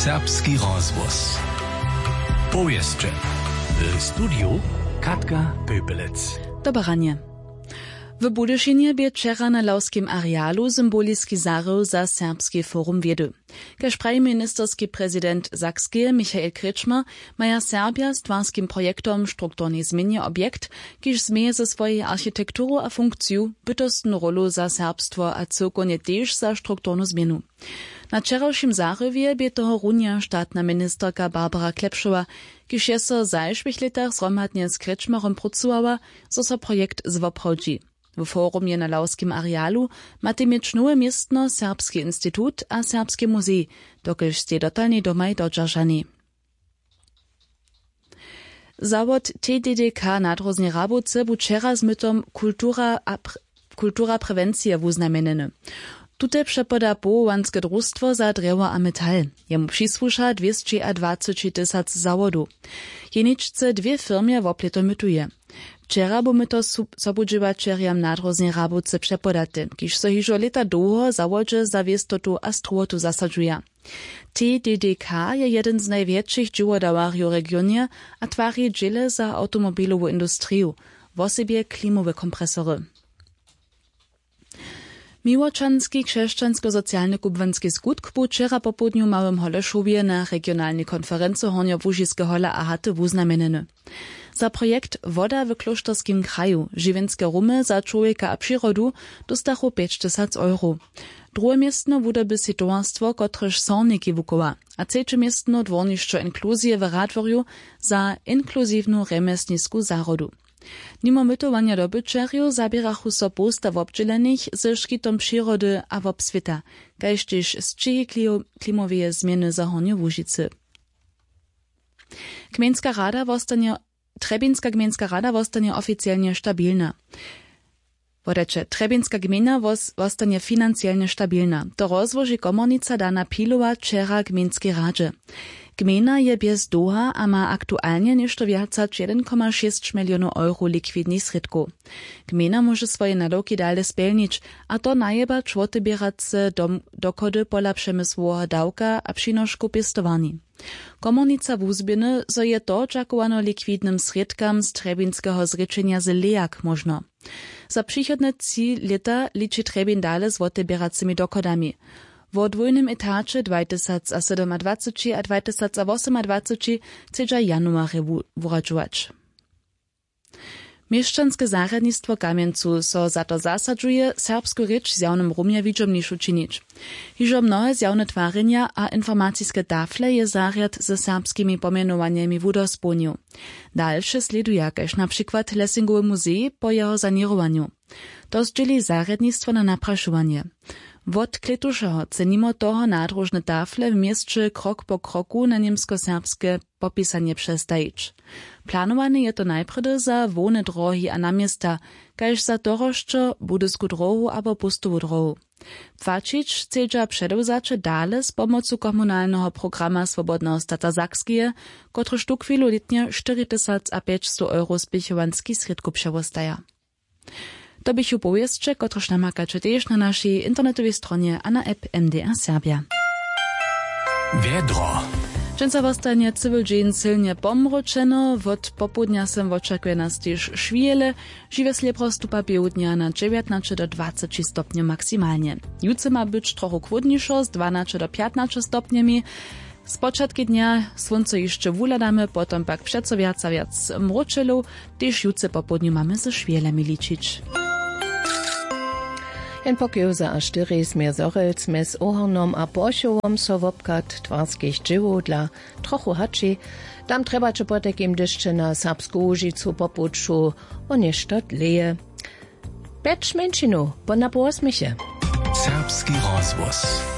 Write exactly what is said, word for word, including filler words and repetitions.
Serbski rozhłos. Powěsće. W studiju Katka Pöpelec. Dobre ranje. W Budyšinje bě wčera na lawskim arealu symboliski zahrył za Serbski forum wědy. Kaž praji ministerski prezident Sakskeje Michael Kretschmer, maja Serbja z twarskim projektom strukturnej změnje objekt, kiž změje ze swojej architekturu a funkciju bytostnu rólu za serbstwo a cyłkownje tež za strukturnu změnu. Na wčerawšim zahrywje bě tohorunja štatna ministerka Barbara Klepšowa, kiž je so w zašłych lětach zhromadnje z Kretschmerom prócowała, zo so projekt zwoprawdźi. W forumje na lawskim arealu matej měć nowe městno Serbski institut a Serbski muzej, dokelž stej dotalnej domaj dodźeržanej. Zawod T D D K na Dróznej Rabowce bu wčera z mytom kultura a pr-, kultura prewencije wuznamjenjeny. Tute přepoda powołanske drustwo za drjewo a metal. Jemu přisłuša dwěsćiadwaceći tysac zawodow. Jeničce dwě firmje woplěto mytuje. Wčera bu myto su-, sobudźěłaćerjam na Dróznej Rabowce přepodate, kiž so hižo lěta dołho zawodźe za wěstotu a strowotu zasadźuja. T D D K je jedyn z najwjetšich dźěłodawarjow w regionje a twari dźěle za awtomobilowu industriju, wosebje klimowe kompresory. Miłočanski křesćansko-socialny kubłanski skutk bu wčera popołdnju w Małym Holešowje na regionalnej konferency Hornjołužiske hola a haty wuznamjenjeny. Za projekt Woda w klóšterskim kraju, žiwjenske rumy za čłowjeka a přirodu, dóstachu pjećtysac euro. Druhe městno wudoby sej towarstwo, kotrež sorniki wuchowa, a třeće městno dwórnišćo inkluzije w Radworju za inkluziwnu rjemjesnisku zahrodu. Nimo mytowanja dobyćerjow zaběrachu so połsta wobdźělenych ze škitom přirody a wobswěta, kaž tež sćěhi klio-, klimoweje změny za Hornje Łužicy. Gmejnska rada wostanje, Trjebinska gmejnska rada wostanje oficielnje stabilna. Wodajće, Trjebinska gmejna wos-, wostanje financielnje stabilna. To rozłoži komornica Dana Pilowa wčera gmejnskej radźe. Gmejna je bjez dołha a ma aktualnje něšto wjac hač jedyn koma šěsć milionow euro likwidnych srědkow. Gmejna móže swoje nadawki dale spjelnić, a to najebać woteběrace dom-, dochody pola přemysłoweho dawka a přinoškow pěstowarni. Komornica wuzběhny, zo je to dźakowano likwidnym srědkam z trjebinskeho zrěčenja z lejak móžno. Za přichodne tři lěta liči Trjebin dale z woteběracymi dochodami. Wo dwójnym etaće dwajtysacasydomadwaceći a dwajtysacawosomadwaceći chcedźa januarje wu-, wuradźować. Měšćanske zarjadnistwo w Kamjencu so za to zasadźuje, serbsku rěč w zjawnym rumje widźomnišu činić. Hižo mnohe zjawne twarjenja a informaciske tafle je zarjad ze serbskimi pomjenowanjemi wudospołnił. Dalše slěduja, kaž na přikład Lessingowy muzej po jeho saněrowanju. To zdźěli zarjadnistwo na naprašowanje. Wot klětušeho chce nimo toho nadróžne tafle w měsće krok po kroku na němskoserbske popisanje přestajić. Planowany je to najprjedy za hłowne drohi a naměsta, kaž za Torosćo, Budysku drohu abo Póstowu drohu. Płaćić chcedźa předewzaće dale z pomocu komunalneho programa Swobodneho stata Sakskeje, kotryž tuchwilu lětnje štyri tysac a pjećstow euro spěchowanskich srědkow přewostaja. To běchu powěsće, kotrež namakaće tež na našej internetowej stronje a na app M D R Serbja. Wjedro. Dźensa wostanje cyły dźeń sylnje pomróčeno, wot popołdnja sym wočakuje nas tež šwihele, žiwje slěbro stupa běhu dnja na dźewjatnaće do dwaceći stopnjow maksimalnje. Jutře ma być trochu chłódnišo z dwanaće do pjatnaće stopnjemi. Spočatki dnja słónco hišće wuhladamy, potom pak přeco wjac a wjac mróčelow, tež jutře popołdnju mamy ze šwěhlemi ličić. Jen pokiwza a štyri směr Zhorjelc mjez Ohornom a Porchowom so wobchad twarskich dźěłow dla trochu hači. Tam trjebaće potajkim dešće na Serbsku Łužicu po puću wo něšto dlěje. Pjeć mjeńšinow po napołosměche. Serbski rozhłos.